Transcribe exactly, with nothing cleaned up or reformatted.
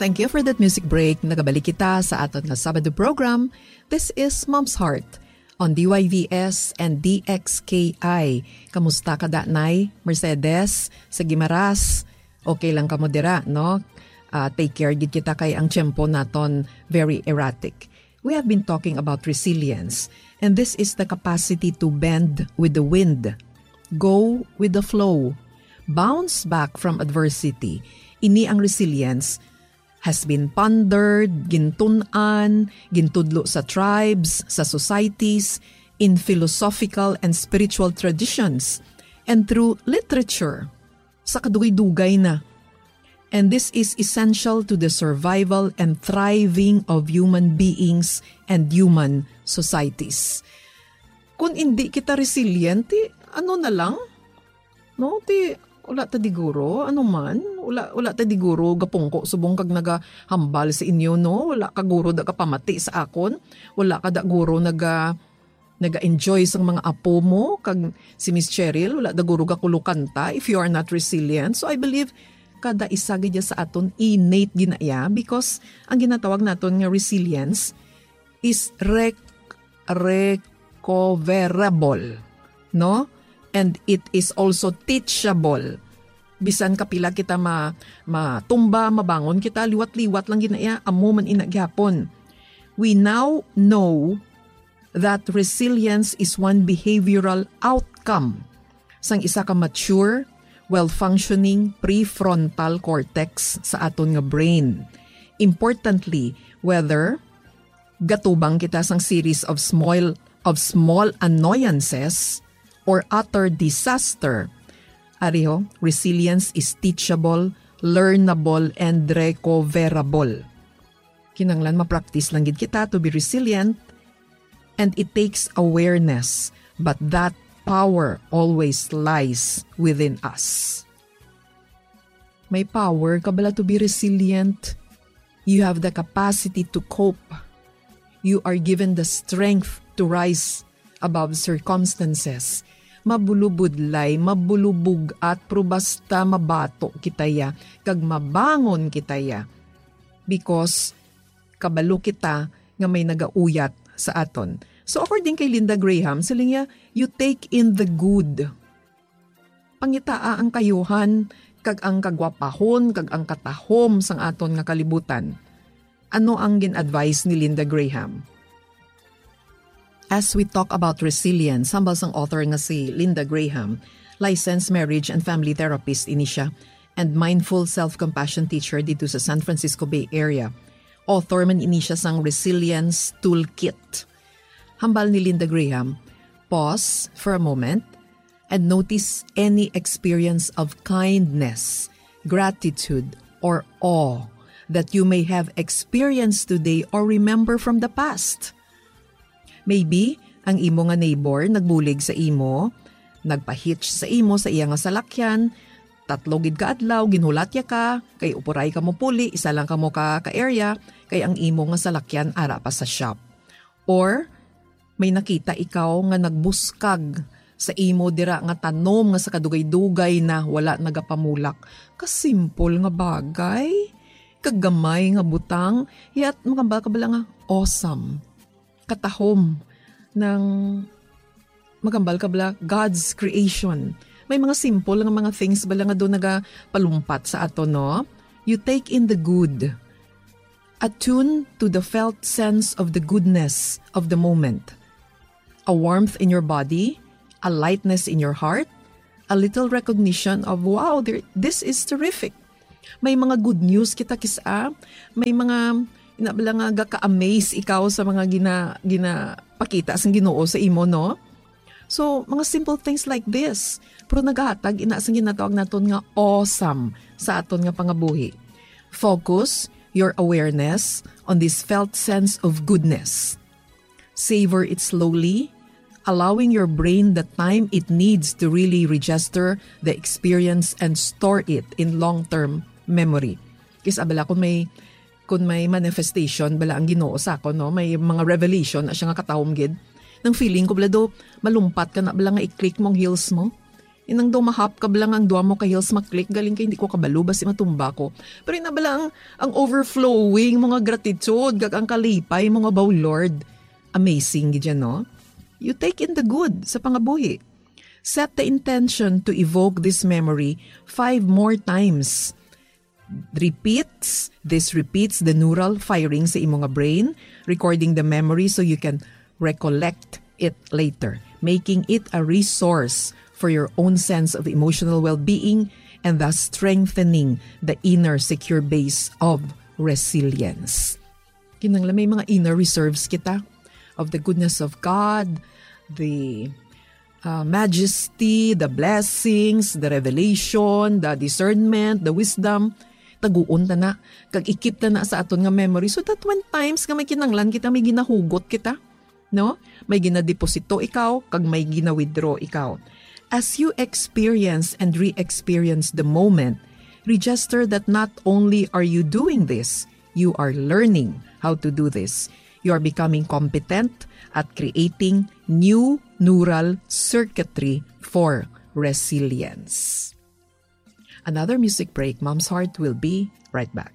Thank you for that music break. Nagabalik kita sa aton nga Sabado program. This is Mom's Heart on D Y V S and D X K I. Kamusta ka, Danay? Mercedes, sa Guimaras? Okay lang kamo dira, no? Ah, take care gid kita kay ang tiyempo naton very erratic. We have been talking about resilience, and this is the capacity to bend with the wind, go with the flow, bounce back from adversity. Ini ang resilience has been pondered, gintun-an, gintudlo sa tribes, sa societies, in philosophical and spiritual traditions, and through literature. Sa kadugay-dugay na. And this is essential to the survival and thriving of human beings and human societies. Kung hindi kita resilient, ti, ano na lang? No, ti, wala ta diguro, ano man, wala, wala ta diguro gapungko subong kag nagahambal sa inyo, no? Wala ka guro da kapamati sa akon, wala ka da guro naga, naga-enjoy sang mga apo mo, kag si Miss Cheryl, wala da guro gakulukanta if you are not resilient. So I believe kada isa gid sa aton innate gina iya, because ang ginatawag naton nga resilience is rec-, recoverable, no? And it is also teachable. Bisan kapila kita ma-, matumba, mabangon kita, liwat-liwat lang gina iya, amo man ina gihapon. We now know that resilience is one behavioral outcome sang isa ka mature, well-functioning prefrontal cortex sa aton nga brain. Importantly, whether gatubang kita sang series of small, of small annoyances or utter disaster, ariho, resilience is teachable, learnable, and recoverable. Kinahanglan ma-practice lang gid kita to be resilient, and it takes awareness, but that power always lies within us. May power ka bala to be resilient. You have the capacity to cope. You are given the strength to rise above circumstances. Mabulubudlay, mabulubug-at, pero basta mabato kita ya, kag mabangon kita ya. Because kabalo kita nga may nagauyat sa aton. So, according kay Linda Graham, siling niya, "You take in the good." Pangitaa ang kayuhan, kag ang kagwapahon, kag ang katahom sang aton nga kalibutan. Ano ang gin-advise ni Linda Graham? As we talk about resilience, hambal sang author nga si Linda Graham, licensed marriage and family therapist ini siya, and mindful self-compassion teacher dito sa San Francisco Bay Area. Author man ini siya sang Resilience Toolkit. Hambal ni Linda Graham, pause for a moment and notice any experience of kindness, gratitude, or awe that you may have experienced today or remember from the past. Maybe, ang imo nga neighbor nagbulig sa imo, nagpa-hitch sa imo sa iya nga salakyan, tatlo gid ka adlaw, ginhulat ya ka, kay upuray ka mo puli, isa lang ka mo ka, ka area, kay ang imo nga salakyan ara pa sa shop. Or, may nakita ikaw nga nagbuskag sa imo dira nga tanom nga sa kadugay-dugay na wala nagapamulak. Kasimple nga bagay, kagamay nga butang, yet makabal ka bala nga awesome. Katahom ng magambal ka bala, God's creation. May mga simple nga mga things bala nga doon nagapalumpat sa ato, no? You take in the good. Attune to the felt sense of the goodness of the moment. A warmth in your body, a lightness in your heart, a little recognition of, "Wow, there, this is terrific." May mga good news kita kisa, may mga, ina bala nga, gaka-amaze ikaw sa mga gina-, ginapakita sang Ginoo sa imo, no? So, mga simple things like this, pero nagahatag ina sang ginatawag naton nga awesome sa aton nga pangabuhi. Focus your awareness on this felt sense of goodness. Savor it slowly, allowing your brain the time it needs to really register the experience and store it in long-term memory. Kis-a bala kung may, kung may manifestation bala ang Ginoo sa akon, no? May mga revelation na siya nga katahom gid. Nang feeling ko bala do, malumpat ka na bala nga i-click mong heels mo. Inang daw mahapkab lang ang dua mo ka heels, maklik, galing kay hindi ko kabalo, basi matumba ko. Pero ina bala ang, ang overflowing mo nga gratitude, kag ang kalipay mo nga baw, Lord. Amazing gid yan, no? You take in the good sa pangabuhi. Set the intention to evoke this memory five more times. Repeats, this repeats the neural firing sa imo nga brain, recording the memory so you can recollect it later, making it a resource for your own sense of emotional well-being and thus strengthening the inner secure base of resilience. Kinahanglan may mga inner reserves kita of the goodness of God, the uh, majesty, the blessings, the revelation, the discernment, the wisdom. Taguon ta na, kag i-keep ta na sa aton nga memory, so that when times nga may kinahanglan kita, may ginahugot kita, no? May ginadeposito ikaw, kag may gina-withdraw ikaw. As you experience and re-experience the moment, register that not only are you doing this, you are learning how to do this. You are becoming competent at creating new neural circuitry for resilience. Another music break. Mom's Heart will be right back.